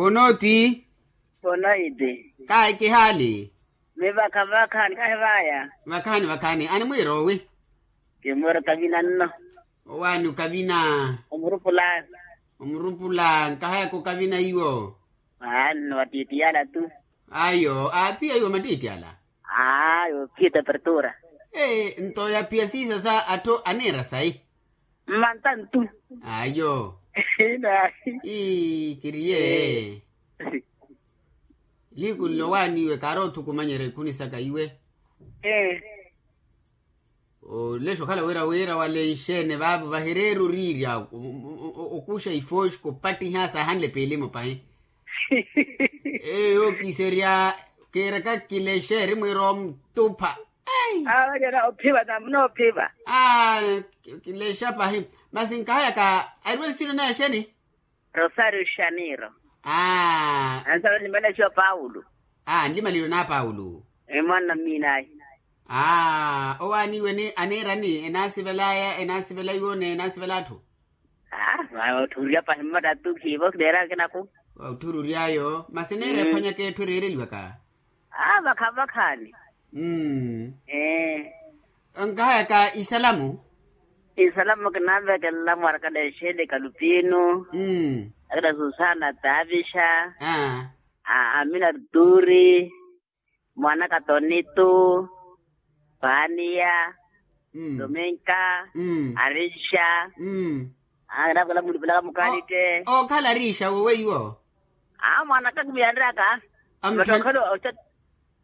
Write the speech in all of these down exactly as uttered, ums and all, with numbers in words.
Onoti. Onoiti. Kahi kihaali. Mivakha vakhaani kahi vaya. Vakhaani vakhaani animwiira owi? Kimwiira okavina nno. Owaani okavina? Omurupula. Omurupula nkahayaka okavina iwo. Aano wattittiyala tu. Ayo aaphiya iwo mattittiyala. Ayo phiya tapertura. Nto yaphiya siisa sa atthu aniira sayi. Mmantantu. Ayo. Inahi. Ii kiriye. Liiku nlo waaniiwe kaari othukumanyerya ikhuni saka iwe. Olexa okhala wira wira wale nxeene vaavo vahireera oriirya okuxa ifooxi kopattiha saahanle piilimu pahi. Eyo kiserya kiiraka kilexa eri mwiira omutupha. Ai. Awalyana ophiva namuna ophiva. Aa. Kilexa pahi. Masi nkahayaka ariwe nsina naye xeni? Rosario xaniiro. Aa. Ansa onlimaliwa xiwa paulo. Aa nlimalilwe na paulo. Emwanna mmiinayi. Aa owaaniiwe ni aniirani enaasivelaya enaasivela iwo ni enaasivela atthu. Aa. Otthururya pahi mmattattu khiivo kineera kinaku. Otthururyayo masi neera ephwanyaka etthu ereereliwaka. Aa vakhaani vakhaani. Ee. Nkahayaka isalamu. Isalamu kinanvekelela mwarakale exeele kalupinu. Akina susana tavixa. Amina arturi. Mwanaka tonitu. Paniya. Dominka. Arixa. Aa kinaavekela mulupelaka mukalite. Okhala arixa wo weiwo. Aa mwanaka kimiyanryaka. Mata okhala.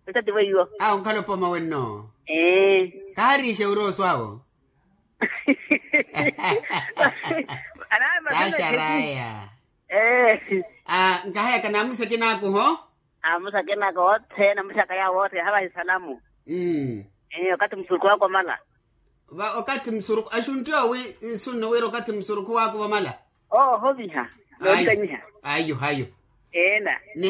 Otati weiwo. Aa onkhala opoma wenno. Ee. Kaha arixa wira oswawo. Taxaraya. Ee. Aa nkahayaka namusa kinaakuho. Amusa kinaka othene amuxaka yawo othene havahi salamu. Okathi musuruku waka omala. Okathi musuruku axuntti owi nsunno wira okathi musuruku waka ovamala. Ohoviha. Noontanyiha. Ayo ayo. Eena.